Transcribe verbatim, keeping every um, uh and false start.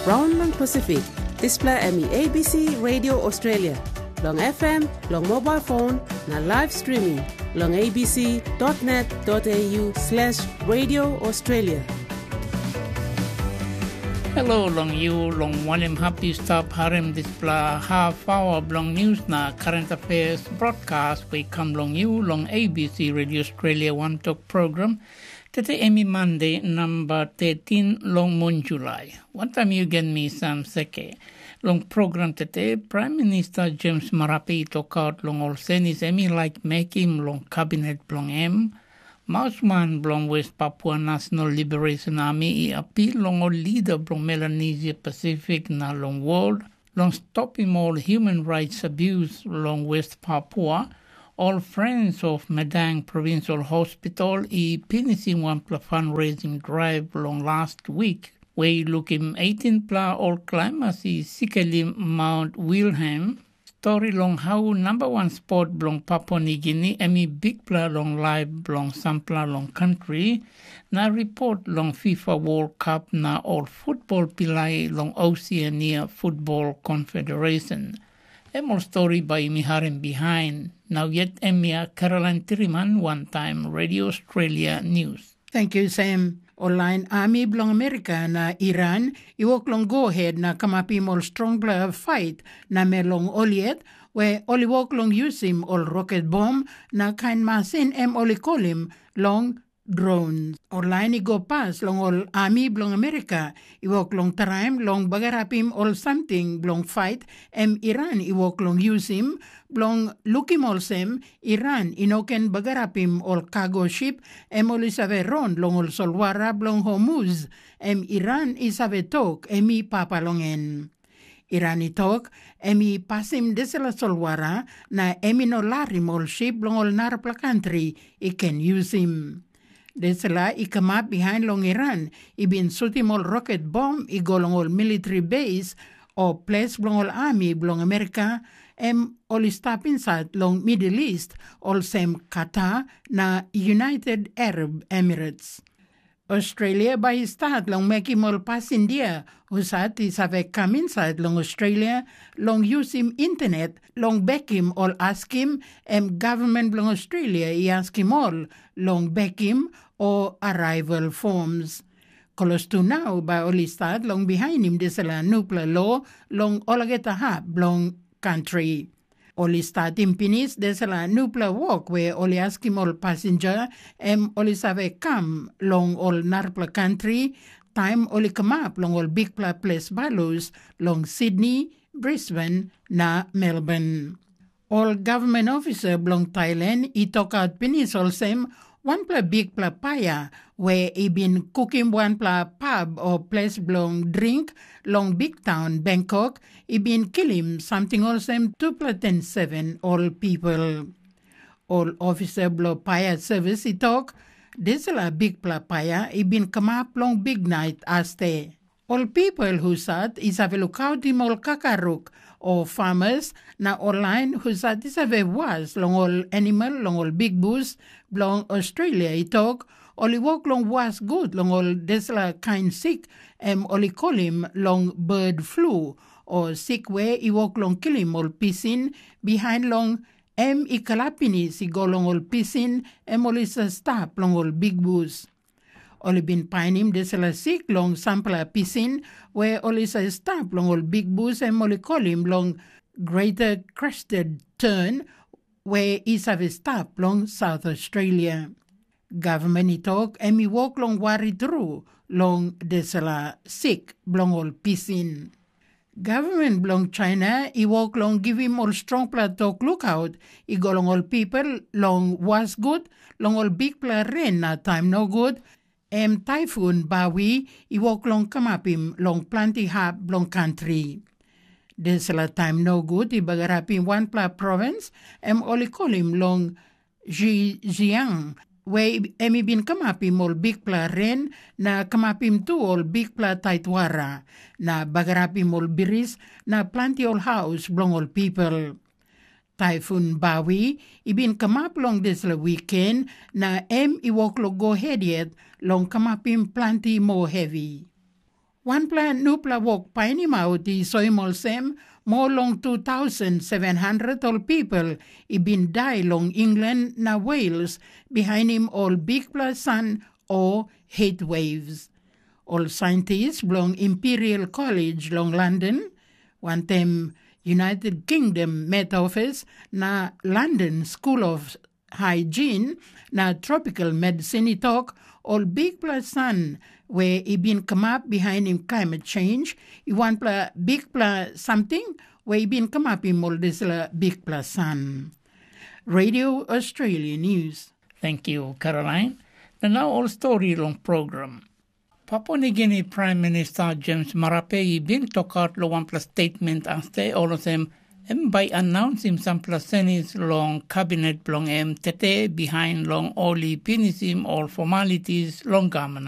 Raun long Pasifik, dispela em i A B C Radio Australia, long F M, long mobile phone, na live streaming, long A B C dot net dot A U slash Radio Australia. Hello long you, long wanem hap yu stap harim dispela half hour bilong news na current affairs broadcast we come long you long A B C Radio Australia One Talk program. Tete em i Mande namba thirteen long mun Julai. Wantaim yu gen mi Sam Seke. Long program tete, Prime Minister James Marape i tokaut long ol senis em i laik mekim long kabinet bilong em. Mausman bilong West Papua National Liberation Army i apil long ol lida bilong Melanesia Pasifik na long wol long stopim ol human rights abuse long West Papua. Ol Friends of Madang Provincial Hospital i pinisim wanpela fundraising drive long last week, we i lukim eighteen pela ol climbers i sikelim Mount Wilhelm. Stori long hau namba wan spot bilong Papua Nigini em i bikpela long laip bilong sampela long kantri, na ripot long FIFA World Cup na ol futbol pilai long Oceania Futbol Confederation. Em ol stori bai yumi harim bihain. Nau yet em ya Caroline Tiriman wantaim Radio Australia News. Thank you, Sam. Ol lain ami bilong Amerika na Iran i wok long go het na kamapim ol strongpela fait namel long ol yet, we ol i wok long yusim ol roket bom na kain masin em ol i kolim long drones. Ol lain i go pas long ol ami bilong Amerika i wok long traim long bagarapim ol samting bilong fait em Iran i wok long yusim, bilong lukim olsem Iran i no ken bagarapim ol kago sip em ol i save ron long ol solwara bilong Hormuz, em Iran i save tok em i papa long en. Iran i tok em i pasim dispela solwara na em i no larim ol sip bilong ol narapela kantri i ken yusim. Dispela i kamap bihain long Iran i bin sutim ol roket bom i go long ol militri base o ples bilong ol ami bilong Amerika, em ol i stap insait long Middle East, olsem Qatar na United Arab Emirates. Australia bai i stat long mekim ol pasindia husat i save kam insait long Australia long yusim internet long bekim ol askim em gavman bilong Australia i askim ol long bekim o arrival forms. Klostu nau bai ol i stat long bihainim dispela nupela lo long olgeta hap bilong kantri. Ol i statim pinis dispela nupela wok we ol i askim ol pasinja em ol i save kam long ol narapela kantri taim ol i kamap long ol bikpela ples balus long Sydney, Brisbane na Melbourne. Ol gavman ofisa bilong Thailand i tokaut pinis olsem wanpela bikpela paia we i bin kukim wanpela pab o ples bilong dring long biktaun Bangkok i bin kilim samting olsem tupela ten seven ol pipel. Ol ofisa bilong paia servis i tok, dispela bikpela paia i bin kamap long biknait aste. Ol pipel husat i save lukautim ol kakaruk o famas na ol lain husat i save was long ol animal long ol bikbus bilong Australia i tok, ol i wok long was gut long ol dispela kain sik em ol i kolim long bird flu, o sik we i wok long kilim ol pisin bihain long em i kalap pinis i go long ol pisin em ol i save stap long ol bikbus. Ol i bin painim dispela sik long sampela pisin we ol i save stap long ol bikbus em ol i kolim long Greater Crested Tern, we i save stap long South Australia. Gavman i tok em i wok long wari tru long dispela sik bilong ol pisin. Gavman bilong China i wok long givim ol strongpela tok lukaut i go long ol pipel long was gut long ol bikpela ren na taim nogut, em taifun Bawi i wok long kamapim long planti hap bilong kantri. Dispela taim nogut i bagarapim wanpela provins em ol i kolim long Zhejiang, we em i bin kamapim ol bikpela ren na kamapim tu ol bikpela taitwara, na bagarapim ol bris na planti ol haus bilong ol pipel. Taifun Bawi i bin kamap long dispela wiken, na em i wok long go hed yet long kamapim planti moa hevi. Wanpela nupela wok painimaut i soim olsem, moa long two thousand seven hundred ol pipel i bin dai long England na Wales bihainim ol bikpela san o heat waves. Ol saintis bilong Imperial College long London, wantaim United Kingdom Met Office na London School of Hygiene na Tropical Medicine i tok, ol bikpela san we i bin kamap bihainim climate change i wanpela bikpela samting we i bin kamapim ol dispela bikpela san. Radio Australia News. Thank you, Caroline. Na nau ol stori long program. Papua Nigini Prime Minister James Marape i bin tokaut long wanpela statement aste olsem em bai announsim sampela senis long kabinet bilong em tete bihain long ol i pinisim ol formalities long gavman